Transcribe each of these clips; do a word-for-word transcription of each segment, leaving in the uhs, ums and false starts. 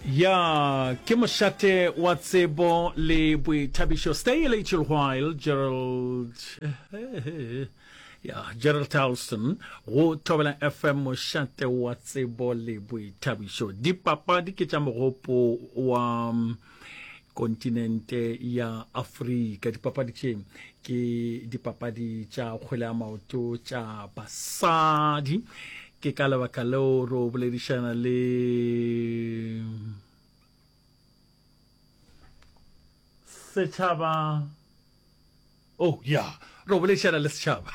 Ya, ke mošate wa tsebo le boithabišo. Stay a little while, Gerald. Ya, Gerald Alston go Thobela F M, mošate wa tsebo le boithabišo. Dipapadi ke tša mogopo wa mm, kontinente ya Afrika. Dipapadi tše ke dipapadi tša kgwele ya maoto tša basadi. Ke ka lebaka leo re boledišana le setšhaba. Oh ya, re boledišana le setšhaba.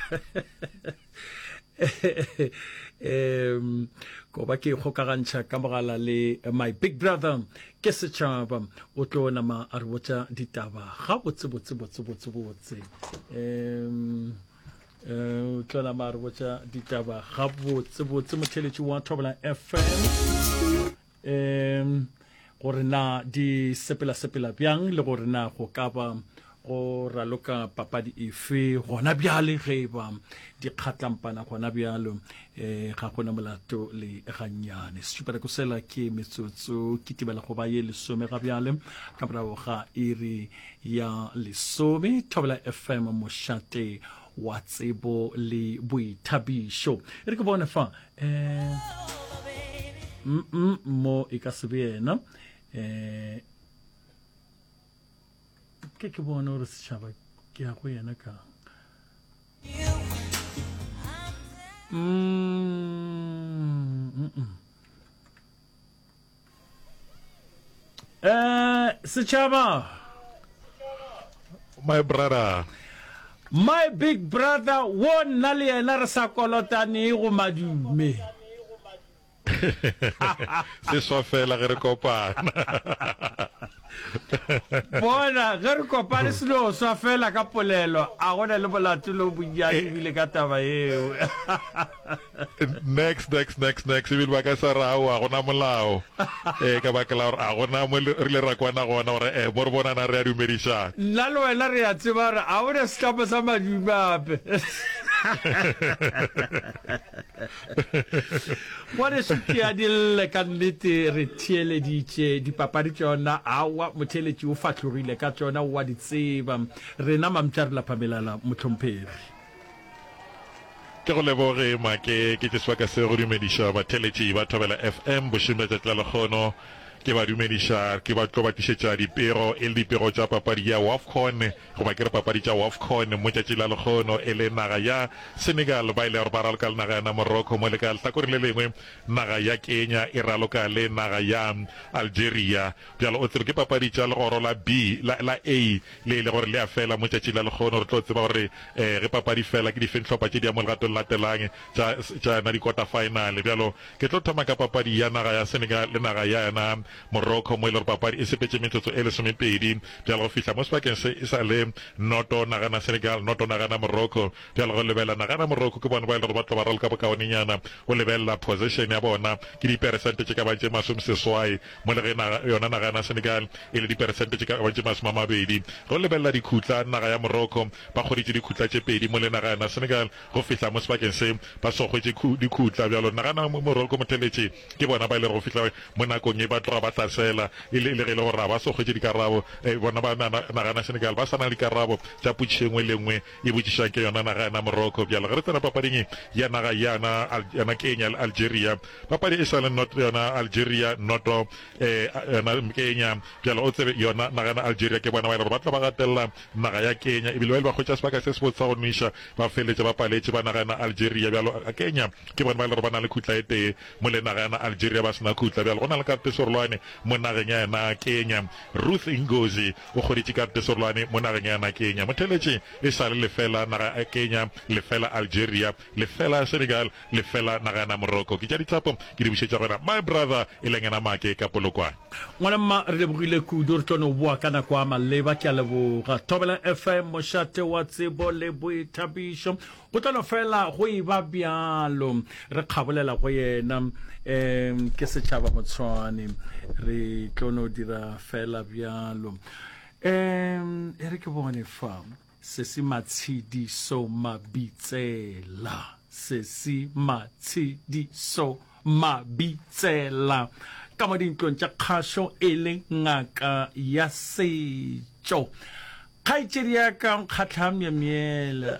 um ko ba ke kgokagantšha ka mogala le my big brother ke setšhaba, o tlo nama a re botša ditaba ga botse botse botse botse botse. um o tlo nama a re botša ditaba ga botse botse, motheletši wa Thobela F M, um gore na di sepela sepela bjang, le gore na go ka ba go raloka papadi efe gona bjale, ge e ba di kgatlampana gona bjalo. um ga gona molato le gannyane. Sešupanako sela ke metsotso ke tibela go ba ye lesome ga bjale ka morago ga iri ya lesome. Thobela F M, mošate wa tsebo le boithabišo. E re ke bone fa, um mm mo e ka se be yena. um ke ke bone gore setšhaba ke ya go yena kang. Mm, mm, mm. Eh, setšhaba. My brother. My big brother, wo nna le yena re sa kolotane go madume. Se swa fela ge re kopana. Bona, ge re kopane se no swa fela ka polelo, a gona le molato le o bonnyane ebile ka taba yeo. Next, next, next, next. Ebile ba ka sa re aowa, gona molao, um ka baka la gore a gona mo re ile ra kwana gona gore um mo re bonana re a dumedišana. Nna le wena re a tseba gore a gona setlamo sa madume ape. Ngwaneso ke a di lle ka nnete, re theeleditše dipapadi tšona. Aowa, motheeletši o fahlogile ka tšona, o a di tseba. Rena mampša re lapa melala, mohlomphegi. Ke go leboge Make, ke tše sebaka se go dumediša batheeletši ba Thobela F M bošeng bja tšatši la lekgono. Ke ba dumediša, ke ba tlo ba tlišetša dipego, e le dipego tša papadi ya WAFCON, goba ke re papadi tša WAFCON mo tšatši la lekgono, e le naga ya Senegal ba ile gore ba raloka le naga ya Morocco, mo le ka lehlakoreng le lengwe naga ya Kenya e raloka le naga ya Algeria. Bjalo o tsebe ke papadi tša legoro la B, la, la A, le e le gore le a fela mo tšatši la lekgono. Re tlo tseba gore eh, ge papadi fela ke difeng hlopha tše di ya mo legatong latelang tša, tša yona di-quarter final. Bjalo ke tlo thoma ka papadi ya naga ya Senegal le naga ya yona Morocco, mo e le gore papadi e sepetše metsotso e lesomepedi bjalo go fihla mo sebakeng se e sa le noto nagana Senegal, noto nagana Morocco. Bjalo go lebelela nagana Morocco, ke bona ba e le gore ba tlo ba raloka bokaonenyana. Go lebelela possession ya bona ke diperesente tše ka bang tše masomeseswai, mo le ge naga yona naga ya Senegal e le diperesente tše ka bang tše masome a mabedi. Go lebelela dikhutla, naga ya Morocco ba kgoditše dikhutla tše pedi, mo le naga ya Senegal go fihla mo sebakeng se ba so hwetše dikhutla. Bjalo nagana Morocco motheletše ke bona ba e le go fihla mo nakong e ba tloga ba hlasela, e le ge e le gore ga ba so hwetše dikarabo. Bona ba nagana Senegal ba sa na le dikarabo tša potšišo e nngwe le nngwe e botšišang ke yona naga yana Morocco. Bjalo ge re tsena papading ya naga yana yona Kenya le Algeria, papadi e sa le noto yona Algeria noto eh yona Kenya. Bjalo o tsebe yona naga yana Algeria ke bona ba e le gore ba tla ba gatelela naga ya Kenya, ebile ba ile ba hwetša sebaka se sebotse sa go nweša, ba feleletša ba paletše ba naga yana Algeria. Bjalo Kenya ke bona ba e le gore ba na le khutla e tee, mo le naga yana Algeria ba sena khutla. Bjalo go na le karate serolwane mo nageng ya yena Kenya. Ruth Ngozi o kgoditše karate serolwane mo nageng ya yena Kenya. Motheletše e sa le lefela naga ya Kenya, lefela Algeria, lefela Senegal, lefela naga yana Morocco. Ke tša dithapo ke di bušetša go wena my brother e leng yena Make ka Polokwane. Ngwana mma, re lebogile kudu, re tlo no boa ka nako ya maleba. Ke a leboga. Thobela F M, mošate wa tsebo le boithabišo. Go tlo no fela go e ba bjalo. Re kgabolela go yena, um ke setšhaba motshwane. Re tlo no dira fela bjalo. Um e re ke bone fa, Sesi Matshediso Mabitsela. Sesi Matshediso Mabitsela. ka mo dintlong tša kgašo e le ngaka ya setšo. Kgaetšedi ya ka nkgatlha myemyela.